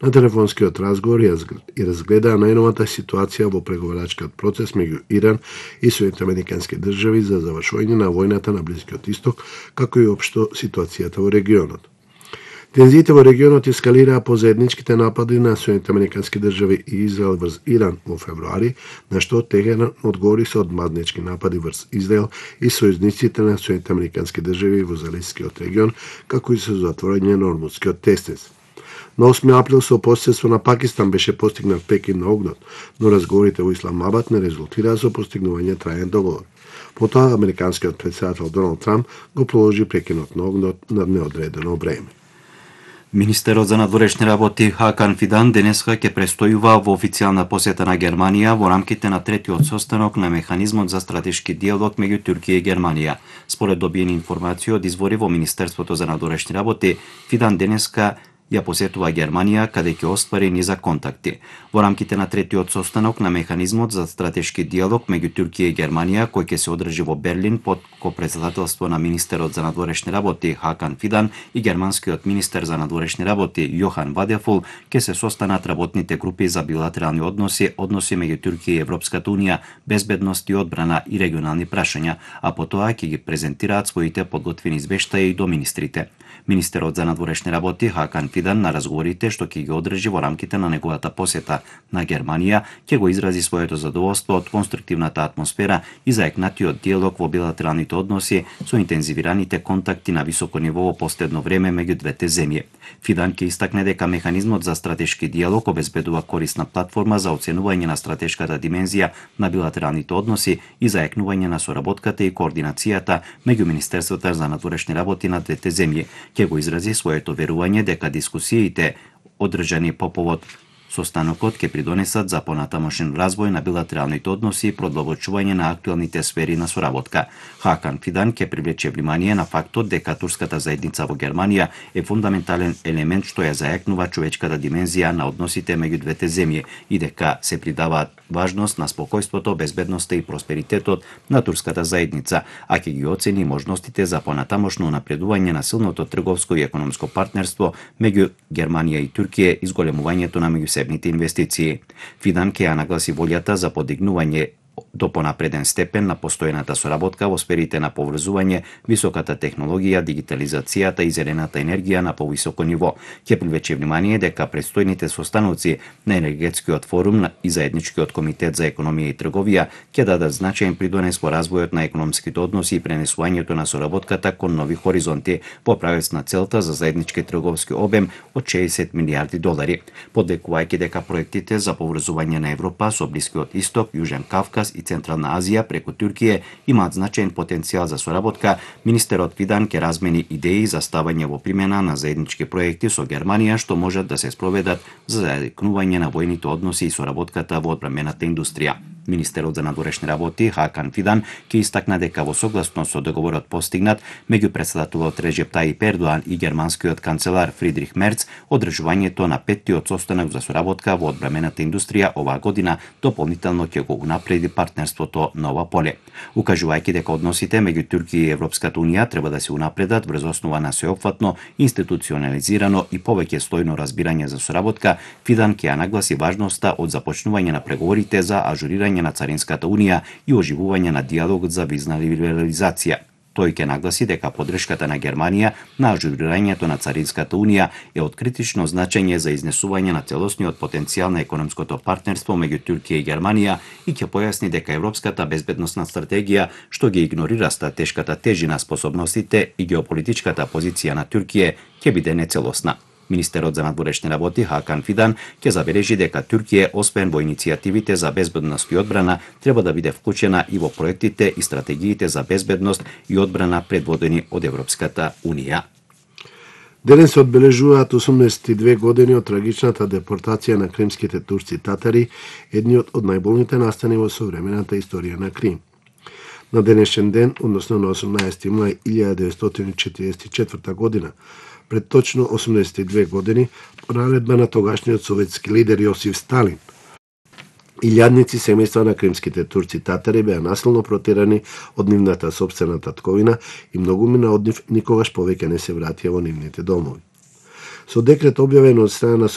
на телефонскиот разговор и разгледаа најновата ситуација во преговарачкиот процес меѓу Иран и Соединените Американски држави за завршување на војната на Блискиот Исток, како и општо ситуацијата во регионот. Тензиите во регионот ескалираа по заедничките напади на Соединените Американски држави и Израел врз Иран во февруари, на што Техеран одговори со одмазнички напади врз Израел и сојузниците на Соединените Американски држави во Залескиот регион, како и со затворање на Ормудскиот тесниц. На 8 април со посредство на Пакистан беше постигнат прекид на огнот, но разговорите во Исламабад не резултираа со постигнување траен договор. Потоа американскиот претседател Доналд Трамп го положи прекинот на огнот на неодредено време. Министерот за надворешни работи Хакан Фидан денеска ќе престојува во официјална посета на Германија во рамките на третиот состанок на механизмот за стратешки диалог меѓу Туркија и Германија. Според добиени информации од извори во Министерството за надворешни работи, Фидан денеска ја посетува Германија, каде ќе оствари низа контакти. Во рамките на третиот состанок на механизмот за стратешки диалог меѓу Туркија и Германија, кој ќе се одржи во Берлин под копредседателство на министерот за надворешни работи Хакан Фидан и германскиот министер за надворешни работи Јохан Вадефул, ќе се состанат работните групи за билатерални односи меѓу Туркија и Европската унија, безбедност и одбрана и регионални прашања, а потоа ќе ги презентираат своите подготвени извештаи до министрите. Министерот за надворешни работи Хакан Фидан на разговорите што ќе ги одржи во рамките на неговата посета на Германија ќе го изрази своето задоволство од конструктивната атмосфера и заекнатиот диалог во билатералните односи со интензивираните контакти на високо ниво во последно време меѓу двете земји. Фидан ќе истакне дека механизмот за стратешки диалог обезбедува корисна платформа за оценување на стратешката димензија на билатералните односи и заекнување на соработката и координацијата меѓу Министерството за надворешни работи на двете земји. Ќе го изрази своето верување дека дискусиите одржани по повод состанокот ќе придонесат за понатамошен развој на билатералните односи и продолбочување на актуелните сфери на соработка. Хакан Фидан ќе привлече внимание на фактот дека турската заедница во Германија е фундаментален елемент што ја заекнува човечката димензија на односите меѓу двете земји и дека се придава важност на спокојството, безбедноста и просперитетот на турската заедница, а ќе ги оцени можностите за понатамошно напредување на силното трговско и економско партнерство меѓу Германија и Туркија и зголемувањето на меѓусебните инвестиции. Фидан ќе ја нагласи волјата за подигнување до понапреден степен на постојната соработка во сферите на поврзување, високата технологија, дигитализацијата и зелената енергија на повисоко ниво. Ќе привлече внимание дека предстојните состаноци на енергетскиот форум и заедничкиот комитет за економија и трговија ќе дадат значаен придонес во развојот на економските односи и пренесувањето на соработката кон нови хоризонти во правец на целта за заеднички трговски обем од 60 милијарди долари. Подекувајќи дека проектите за поврзување на Европа со Блискиот Исток, Јужен Кавказ и Централна Азија преку Туркија имаат значаен потенцијал за соработка, министерот Фидан ќе размени идеи за ставање во примена на заеднички проекти со Германија што можат да се спроведат за заедникнување на војните односи и соработката во одбранената индустрија. Министерот за надворешни работи Хакан Фидан ќе истакна дека во согласност со договорот постигнат меѓу претседателот Реджеп Тајип Ердоан и германскиот канцелар Фридрих Мерц, одржувањето на петтиот состанок за соработка во одбранената индустрија оваа година дополнително ќе го унапреди партнерството на ова поле. Укажувајќи дека односите меѓу Туркија и Европската унија треба да се унапредат врз основа на сеопфатно, институционализирано и повеќе стојно разбирање за соработка, Фидан ќе ја нагласи важноста од започнување на преговорите за ажурирање на Царинската унија и оживување на диалогот за визна либерализација. Тој ќе нагласи дека поддршката на Германија на ажурирањето на Царинската унија е од критично значење за изнесување на целосниот потенцијал на економското партнерство меѓу Туркија и Германија и ќе појасни дека европската безбедносна стратегија што ги игнорира стратешката тежина, способностите и геополитичката позиција на Туркија ќе биде нецелосна. Министерот за надворешни работи Хакан Фидан ќе забележи дека Туркија, освен во иницијативите за безбедност и одбрана, треба да биде вклучена и во проектите и стратегиите за безбедност и одбрана предводени од Европската унија. Денес се одбележуваат 82 години од трагичната депортација на кримските турци татари, едниот од најболните настани во современата историја на Крим. На денешен ден, односно на 18 мај 1944 година, пред точно 82 години, по наредба на тогашниот советски лидер Јосиф Сталин, илјадници семејства на кримските турци татари беа насилно протерани од нивната сопствена татковина и многумина од нив никогаш повеќе не се вратија во нивните домови. Со декрет објавен од страна на